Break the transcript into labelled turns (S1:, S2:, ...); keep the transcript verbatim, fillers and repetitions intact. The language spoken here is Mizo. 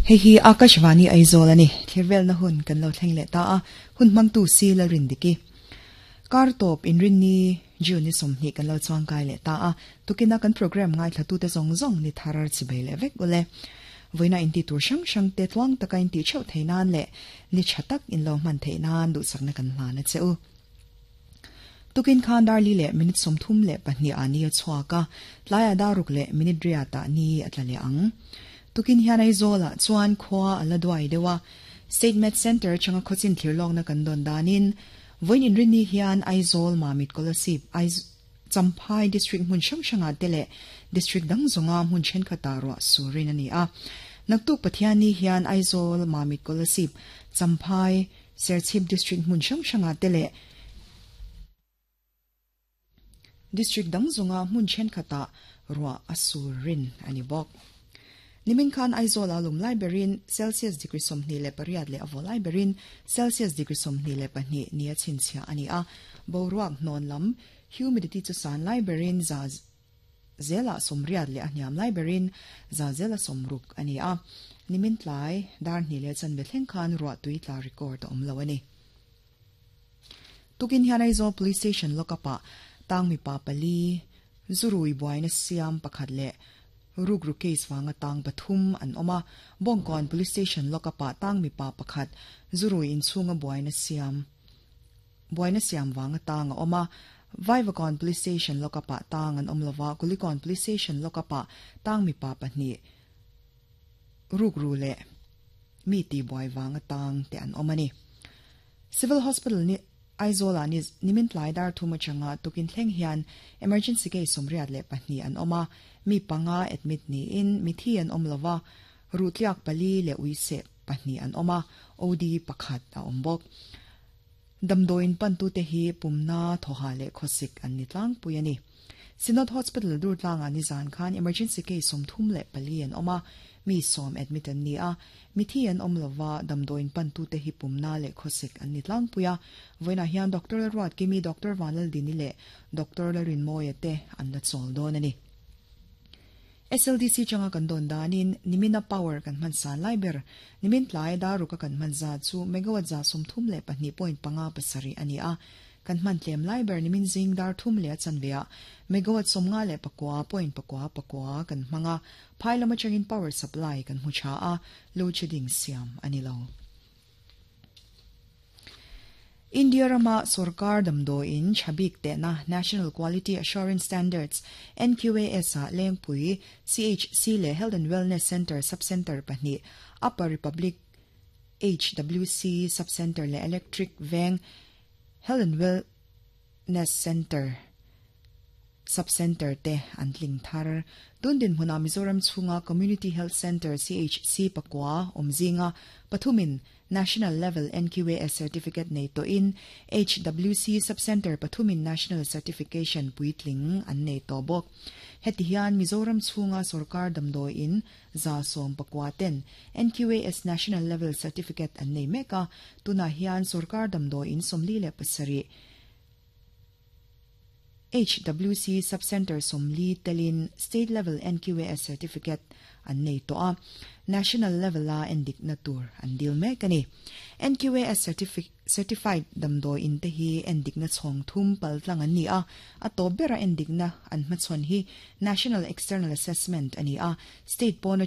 S1: Hei hi Akashvani Aizawl ani thirvel na hun kan lo thleng leh ta a hun mangtu si la rin diki kar top in rin ni June ni somni kan lo chuang kai leh ta a tukina kan program ngai thlatu te zong zong ni tharar chibei le vek ule voina in ti tur sang sang te tluang taka in ti cheu theinan le ni chatak in lo man theinan du sakna kan hla na cheu tukin khan dar li le minute som thum le pahni ani a chhuaka tlaya daruk le minute ria ta ni atlale ang tukin hian Aizawl chuan khwa ala duai dewa State Med Center changa khochin thirlong na kan don danin voin in rini hian Aizawl Mamit Kolasib Aiz Champhai district hmun hrang hranga te le district dang zonga hmun thenkhat ro surin ani a naktuk Pathiani hian Aizawl Mamit Kolasib Champhai Serchhip district hmun hrang hranga te le district dang zonga hmun thenkhat ro asurin ani bok Nimin khan Aizawl alum library Celsius degree somni le pariat le avo library Celsius degree somni le pahni nia chinchia ani a boruak non lam humidity chu san library za zela somriat le aniam library za zela somruk ani a nimin tlai dar ni le chan be thleng khan ruwa tui tla record om lo ani tukin hian Aizawl police station lokapa tangmi pa pali zurui buaina siam pakhat le rugru case wanga tang pathum an oma Bongkon police station lokapa tang mi pa pakhat zurui in chunga buaina siam buaina siam wanga tang oma Vaivakon police station lokapa tang an omlova Kulikon police station lokapa tang mi pa pahni rugru le mi ti buai wanga tang te an omani Civil Hospital ni Aizawl ni nimin tlai dar thuma changa tukin thleng hian emergency case somriat le pahni an oma mi panga admit ni in mi thi an omlova rutliak pali le uise pahni an oma od pakhat a ombok damdoin pantu te hi pumna thoha le khosik an ni tlang puiani Synod Hospital dur tlang ani zan khan emergency case somthum le pali an oma mi som admit an ni a mi thi an omlova damdoin pantu te hi pumna le khosik an ni tlang puia voina hian Doctor Ruat Kimi Doctor Vanal Dini le Doctor Larin Moya te an la chol don ani S L D C changa kan don danin nimina power kan man san liber nimin tlai daru ka kan man za chu megawatt za somthum le pahni point panga pasari ani a kan man tlem liber nimin zing dar thum le chanvea megawatt somnga le pakwa point pakwa pakwa kan manga phailama changin power supply kan hucha a load shedding siam ani lo India rama Sarkar damdo in chabik te na National Quality Assurance Standards N Q A S a lengpui C H C le Health and Wellness Center Subcenter pahni Upper Republic H W C Subcenter le Electric Veng Health and Wellness Center Subcenter te antling thar tundin huna Mizoram chunga Community Health Center C H C pakwa omzinga pathumin National Level N Q A S Certificate nei to in H W C Subcenter pathumin National Certification puitling an nei to bok heti hian Mizoram chunga Sarkar damdoi in za som pakwa ten N Q A S National Level Certificate an nei meka tuna hian Sarkar damdoi in somli le pasari H W C Subcenter somli telin State Level N Q A S Certificate an nei to a National Level la endik na tur an dil mek ani N Q A S certifi- Certified damdoi in te hi endik na chhong thum pal tlang an ni a a to bera endik na an hmachhawn hi National External Assessment ani a state pawna